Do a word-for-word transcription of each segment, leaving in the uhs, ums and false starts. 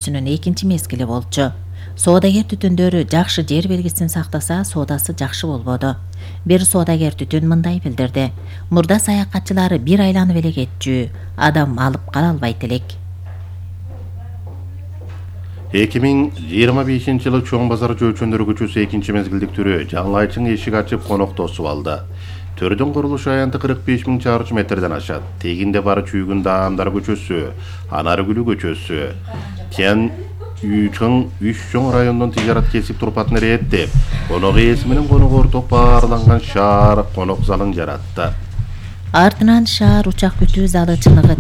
өтүүсүнүн экинчи мезгили болчу. Соодагер түтүндөрү жакшы жер белгисин сактаса, соодасы жакшы болбоду. Бир соодагер түтүн мындай билдирди: мурда саякатчылары бир айланып эле кетчү, адам алып кала албайт элек. эки миң жыйырма бешинчи жылы Чоң базар жөөчөндөр көчөсү экинчи мезгилдик түрү жаңылайчың эшик ачып конок тосуп алды. Төрдүн курулуш аянты кырк беш миң чарчы метрден ашат. Тегинде бары Чүйгүн Даамдар көчөсү, Анаргүлү көчөсү, Тен Үчүн үч чоң райондон тижарат кесип турпатын рээттеп, конок ээси менен конок орток баарланган шаар конок залын жаратты. Артынан шаар учак күтүү залы чыныгы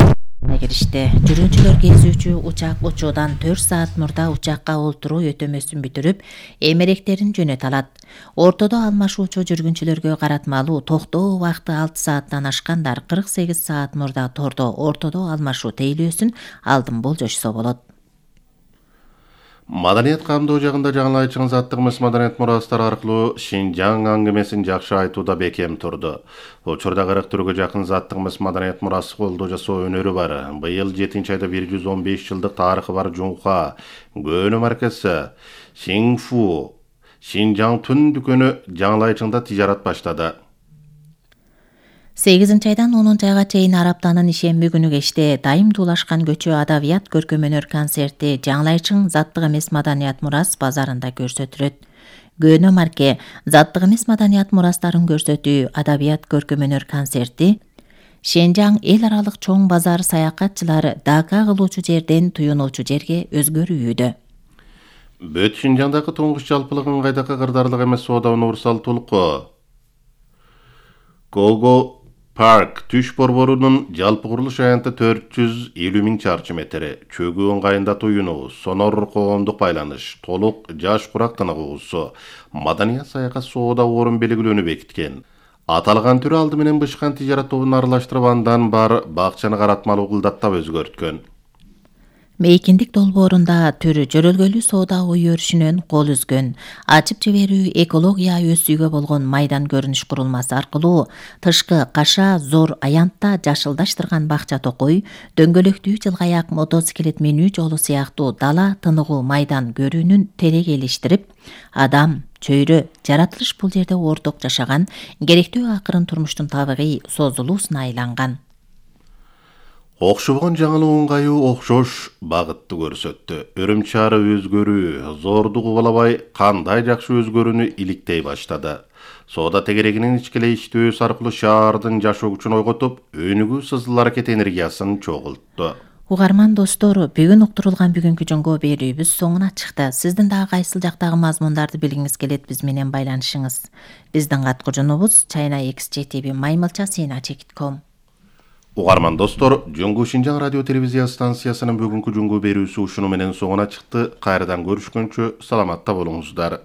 киришти. Жүргүнчүлөр кезүүчү учак учуудан төрт саат мурда учакка олтуруу өтөмөсүн бүтүрүп, эмеректерин жөнөтө алат. Ортодо алмашуучу жүргүнчүлөргө каратмалуу токтоо убакыты алты сааттан ашкандар кырк сегиз саат мурда тордо ортодо алмашуу тейлөөсүн алдын болжошсо болот. Маданият камдоо жагында жаңылайчың заттыгыбыз маданият мурастары аркылуу Шинжаң аңгемесин жакшы айтууда бекем турду. Учурда кырк түргө жакын заттыгыбыз маданият мурасы колдоо жасоо өнөрү бар. Быйыл жетинчи айда бир жүз он беш жылдык тарыхы бар Жунха көөнө маркасы Сиңфу Шинжаң түн дүкөнү жаңылайчыңда тижарат баштады. сегизинчи айдан онунчу айга чейин Араптанын ишемби күнү кечте дайым туулашкан көчө адабият көркөм-өнөр концерти жаңылайчың заттык эмес маданият мурас базарында көрсөтүлөт. Көөнө марке заттык эмес маданият мурастарын көрсөтүү адабият көркөм-өнөр концерти Шинжаң эл аралык чоң базар саякатчылары дака кылуучу жерден туюнуучу жерге өзгөрүүдө. Бөт Шинжаңдагы туңгуч жалпылык ыңгайдагы кырдаарлык эмес соода универсал тулку Гого Парк түш борборунун жалпы курулуш аянты төрт жүз элүү миң чарчы метр, чөгүү ыңгайында туюнуу, сонор коомдук байланыш, толук жаш курак тыныгуусу, маданият саякат соода орун белгилөөнү бекиткен. Аталган түрү алды менен бышкан тижарат тобун аралаштырып андан бар бакчаны каратмалуу кылдаттап өзгөрткөн. Мейкиндик долбоорунда түрү жөрөлгөлүү соода ой өрүшүнөн кол үзгөн. Ачып жиберүү экология өсүүгө болгон майдан көрүнүш курулмасы аркылуу тышкы каша зор аянтта жашылдаштырган бакча токой, дөңгөлөктүү жылгаяк мотоциклет минүү жолу сыяктуу дала тыныгуу майдан көрүүнүн терегелиштирип, адам, чөйрө, жаратылыш бул жерде орток жашаган, керектүү акырын турмуштун табигый созулуусуна айланган. Окшобогон жаңылуу ыңгайуу окшош багытты көрсөттү. Өрүм шаары өзгөрүү, зордугу калабай кандай жакшы өзгөрүүнү иликтей баштады. Соода тегерегинин ичкилештөөсү аркылуу шаардын жашоо күчүн ойготуп, өнүгүү сызыл аракет энергиясын чогултту. Угарман достор, бүгүн уктурулган бүгүнкү жөнгө берүүбүз соңуна чыкты. Сиздин дагы кайсыл жактагы мазмундарды билгиңиз келет, биз менен байланышыңыз. Биздин каткыжунубуз China X J T V Маймылча Сина чекит ком. Угарман достор, Жөнгө Шинжаң радио телевизия станциясынын бүгүнкү жөнгө берүүсү ушуну менен соңуна чыкты. Кайрадан көрүшкөнчө саламатта болуңуздар.